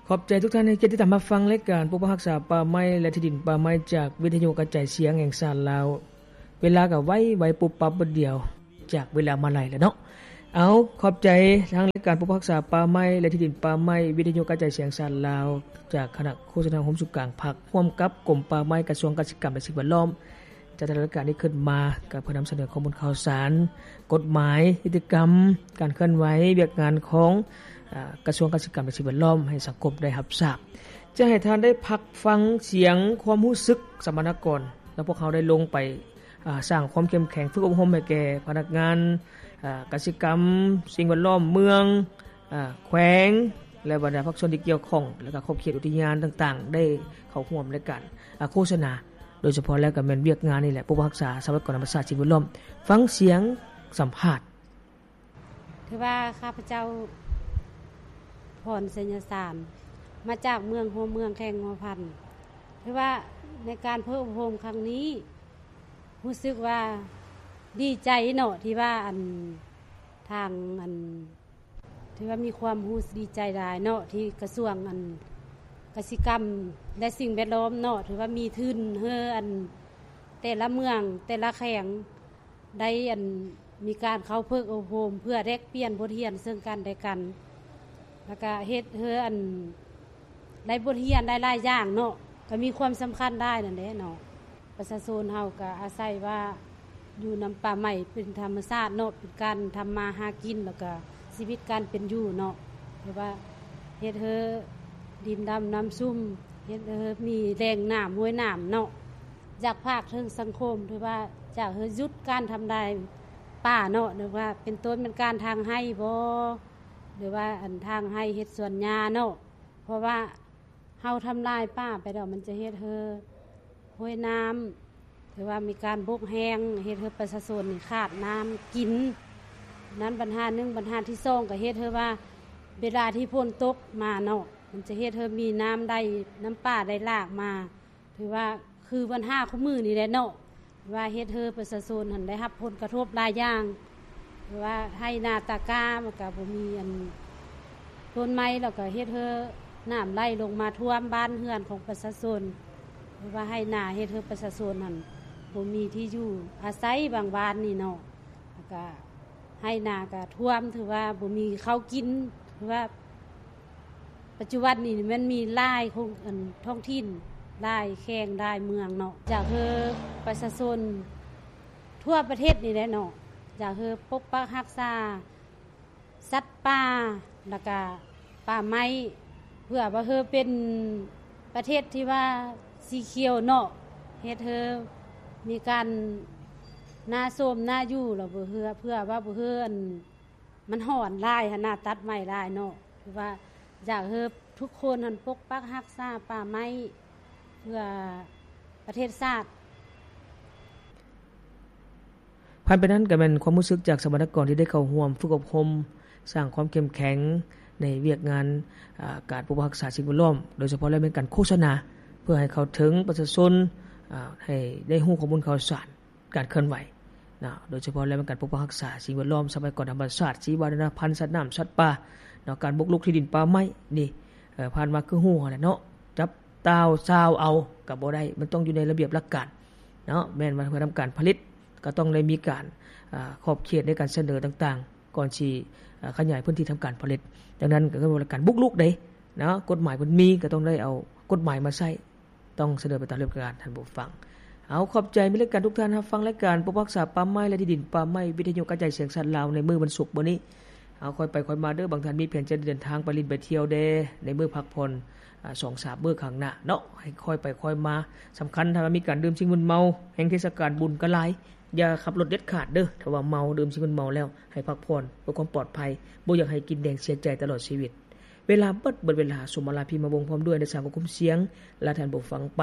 ຂອບໃຈທຸກທ່ານໃຫ້ກຽດຕິດຕາມຮັບຟັງລາຍການປົກປັກຮັກສາປ່າໄມ້ ແລະ ທີ່ດິນປ່າໄມ້ ຈາກວິທະຍຸກະຈາຍສຽງແຫ່ງຊາດລາວ. ເວລາກໍໄວໆ ປຸບປັບບາດດຽວ ຈາກເວລາມາໄລແລ້ວເນາະ. ເອົາ ຂອບໃຈທາງລາຍການປົກປັກຮັກສາປ່າໄມ້ ແລະ ທີ່ດິນປ່າໄມ້ ວິທະຍຸກະຈາຍສຽງແຫ່ງຊາດລາວ ຈາກຄະນະໂຄສະນາໂຮມສຸກາງພັກ ຮ່ວມກັບກົມປ່າໄມ້ ກະຊວງກະສິກຳ ແລະ ສິ່ງແວດລ້ອມ. ຈາກແຕ່ລະລາຍການທີ່ຂຶ້ນມາ ກໍເພື່ອນຳສະເໜີຂໍ້ມູນຂ່າວສານ, ກົດໝາຍ, ກິດຈະກຳ, ການເຄື່ອນໄຫວ, ວຽກງານຂອງ ອາ ກະຊວງກະສິກຳ ແລະ ສິ່ງແວດລ້ອມ ໃຫ້ສັງຄົມໄດ້ຮັບຊາບ. ຈະໃຫ້ທ່ານໄດ້ພັກຟັງສຽງຄວາມຮູ້ສຶກສຳມະນາກອນ ແລະ ພວກເຮົາໄດ້ລົງໄປ ອາ ສ້າງຄວາມເຂັ້ມແຂງ, ຝຶກອົບຮົມໃຫ້ແກ່ພະນັກງານ ອາ ກະສິກຳ, ສິ່ງແວດລ້ອມເມືອງ, ອາ ແຂວງ ແລະ ບັນດາພາກສ່ວນທີ່ກ່ຽວຂ້ອງ ແລະ ກໍຂອບເຂດອຸທິຍານຕ່າງໆ ໄດ້ເຂົ້າຮ່ວມໃນການ ອາ ໂຄສະນາ. ໂດຍສະເພາະແລ້ວກໍແມ່ນວຽກງານນີ້ແຫຼະ, ປົກປັກຮັກສາຊັບພະຍາກອນທຳມະຊາດ ສິ່ງແວດລ້ອມ. ຟັງສຽງສຳພາດ. ຖືວ່າຂ້າພະເຈົ້າ ພອນ ໄຊຍະສານ ມາຈາກເມືອງຫົວເມືອງ ແຂວງຫົວພັນ. ຖືວ່າໃນການຝຶກອົບຮົມຄັ້ງນີ້ ຮູ້ສຶກວ່າດີໃຈເນາະ ທີ່ວ່າ ອັນ ທາງ ອັນ ຖືວ່າມີຄວາມຮູ້ສຶກດີໃຈຫຼາຍເນາະ ທີ່ກະຊວງ ອັນ ກະສິກຳ ແລະ ສິ່ງແວດລ້ອມເນາະ ຖືວ່າມີທຶນໃຫ້ ອັນ ແຕ່ລະເມືອງ ແຕ່ລະແຂວງ ໄດ້ ອັນ ມີການເຂົ້າຝຶກອົບຮົມ ເພື່ອແລກປ່ຽນບົດຮຽນເຊິ່ງກັນແລະກັນ ແລ້ວກະເຮັດໃຫ້ ອັນ ໄດ້ບົດຮຽນຫຼາຍໆຢ່າງເນາະ ກໍມີຄວາມສຳຄັນຫຼາຍນັ້ນແຫຼະເນາະ. ປະຊາຊົນເຮົາກໍອາໄສວ່າຢູ່ນຳປ່າໄມ້ເປັນທຳມະຊາດເນາະ ເປັນການທຳມາຫາກິນ ແລ້ວກໍຊີວິດການເປັນຢູ່ເນາະ ແຕ່ວ່າເຮັດໃຫ້ດິນດຳນ້ຳຊຸ່ມ ເຮັດໃຫ້ມີແຫຼ່ງນ້ຳຫ້ວຍນ້ຳເນາະ. ຢາກຝາກເຖິງສັງຄົມ ຖືວ່າຢາກໃຫ້ຢຸດການທຳລາຍປ່າເນາະ ຫຼືວ່າເປັນຕົ້ນແມ່ນການຖາງໄຮ່ບໍ ຫຼືວ່າ ອັນ ຖາງໄຮ່ເຮັດສວນຫຍ້າເນາະ ເພາະວ່າ ເຮົາທຳລາຍປ່າໄປແລ້ວ ມັນຈະເຮັດໃຫ້ຫ້ວຍນ້ຳ ຖືວ່າມີການບົກແຫ້ງ ເຮັດໃຫ້ປະຊາຊົນນີ້ຂາດນ້ຳກິນ. ນັ້ນບັນຫາໜຶ່ງ, ບັນຫາທີສອງ ກໍເຮັດໃຫ້ວ່າເວລາທີ່ຝົນຕົກມາເນາະ ມັນຈະເຮັດໃຫ້ມີນ້ຳໄຫຼ ນ້ຳປ່າໄຫຼຫຼາກມາ ຖືວ່າຄືບັນຫາຄູ່ມື້ນີ້ແຫຼະເນາະ. ວ່າເຮັດໃຫ້ປະຊາຊົນຫັ້ນໄດ້ຮັບຜົນກະທົບຫຼາຍຢ່າງ ຄືວ່າໄຮ່ນາຕາກ້າມັນກະບໍ່ມີອັນຕົ້ນໄມ້ ແລ້ວກະເຮັດໃຫ້ນ້ຳໄຫຼລົງມາຖ້ວມບ້ານເຮືອນຂອງປະຊາຊົນ ຫຼືວ່າໄຮ່ນາເຮັດໃຫ້ປະຊາຊົນຫັ້ນບໍ່ມີທີ່ຢູ່ອາໄສບາງບ້ານນີ້ເນາະ ແລ້ວກະໄຮ່ນາກະຖ້ວມ ຖືວ່າບໍ່ມີເຂົ້າກິນ ຖືວ່າ ປັດຈຸບັນນີ້ມັນມີຫຼາຍໂຄງ ອັນ ທ້ອງຖິ່ນ ຫຼາຍແຂວງ ຫຼາຍເມືອງເນາະ ຢາກໃຫ້ປະຊາຊົນທົ່ວປະເທດນີ້ແຫຼະເນາະ ຢາກໃຫ້ປົກປັກຮັກສາສັດປ່າ ແລ້ວກະປ່າໄມ້ ເພື່ອວ່າໃຫ້ເປັນປະເທດທີ່ວ່າສີຂຽວເນາະ ເຮັດໃຫ້ມີການໜ້າໂຊມໜ້າຢູ່ ແລ້ວບໍ່ເພື່ອ ເພື່ອວ່າບໍ່ໃຫ້ ອັນ ມັນຮ້ອນຫຼາຍຫັ້ນນະ ຕັດໄມ້ຫຼາຍເນາະ ຄືວ່າຢາກໃຫ້ທຸກຄົນຫັ້ນປົກປັກຮັກສາປ່າໄມ້ ເພື່ອປະເທດຊາດ. ຜ່ານໄປນັ້ນກໍແມ່ນຄວາມຮູ້ສຶກຈາກສຳມະນາກອນທີ່ໄດ້ເຂົ້າຮ່ວມຝຶກອົບຮົມ ສ້າງຄວາມເຂັ້ມແຂງໃນວຽກງານ ອາ ການປົກປັກຮັກສາສິ່ງແວດລ້ອມ ໂດຍສະເພາະແລ້ວແມ່ນການໂຄສະນາ ເພື່ອໃຫ້ເຂົ້າເຖິງປະຊາຊົນ ອາ ໃຫ້ໄດ້ຮູ້ຂໍ້ມູນຂ່າວສານ ການເຄື່ອນໄຫວເນາະ ໂດຍສະເພາະແລ້ວແມ່ນການປົກປັກຮັກສາສິ່ງແວດລ້ອມ, ຊັບພະຍາກອນທຳມະຊາດ, ຊີວະນານາພັນ, ສັດນ້ຳ, ສັດປ່າເນາະ, ການບຸກລຸກທີ່ດິນປ່າໄມ້ນີ້ ເອີ ຜ່ານມາຄືຮູ້ຫັ້ນແຫຼະເນາະ, ຈັບຕ່າວຊາວເອົາກໍບໍ່ໄດ້, ມັນຕ້ອງຢູ່ໃນລະບຽບຫຼັກການເນາະ, ແມ່ນວ່າເພື່ອທຳການຜະລິດກໍຕ້ອງໄດ້ມີການ ອາ ຂອບເຂດໃນການສະເໜີຕ່າງໆ ກ່ອນຊິ ອາ ຂະຫຍາຍພື້ນທີ່ທຳການຜະລິດ. ດັ່ງນັ້ນກໍຄືວ່າການບຸກລຸກເດ້ເນາະ, ກົດໝາຍເພິ່ນມີກໍຕ້ອງໄດ້ເອົາກົດໝາຍມາໃຊ້. ຕ້ອງສະເໜີໄປຕາມລະບຽບການ ທ່ານຜູ້ຟັງ. ເອົາ ຂອບໃຈ ມີລາຍການ ທຸກທ່ານຮັບຟັງລາຍການປົກປັກຮັກສາປ່າໄມ້ ແລະ ທີ່ດິນປ່າໄມ້ ວິທະຍຸກະຈາຍສຽງຊາດລາວ ໃນມື້ວັນສຸກມື້ນີ້. ເອົາ ຄ່ອຍໄປຄ່ອຍມາເດີ, ບາງທ່ານມີແຜນຈະເດີນທາງໄປຫຼິ້ນໄປທ່ຽວແດ່ ໃນມື້ພັກຜ່ອນ ອາ ສອງສາມມື້ຂ້າງໜ້າເນາະ, ໃຫ້ຄ່ອຍໄປຄ່ອຍມາ. ສຳຄັນ ຖ້າວ່າມີການດື່ມສິ່ງມຶນເມົາ ແຮ່ງເທດສະການບຸນກໍຫຼາຍ, ຢ່າຂັບລົດເດັດຂາດເດີ. ຖ້າວ່າເມົາ ດື່ມສິ່ງມຶນເມົາແລ້ວ ໃຫ້ພັກຜ່ອນເພື່ອຄວາມປອດໄພ, ບໍ່ຢາກໃຫ້ກິນແດງເສຍໃຈຕະຫຼອດຊີວິດ. ເວລາເບິດ, ເບິດເວລາ. ສົມມາລາ ພິມມະວົງ ພ້ອມດ້ວຍ ນັກສ້າງຄວບຄຸມສຽງ ລາທ່ານຜູ້ຟັງໄປ.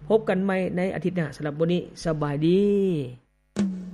ພົບກັນໃໝ່ໃນອາທິດໜ້າ. ສຳລັບມື້ນີ້ ສະບາຍດີ.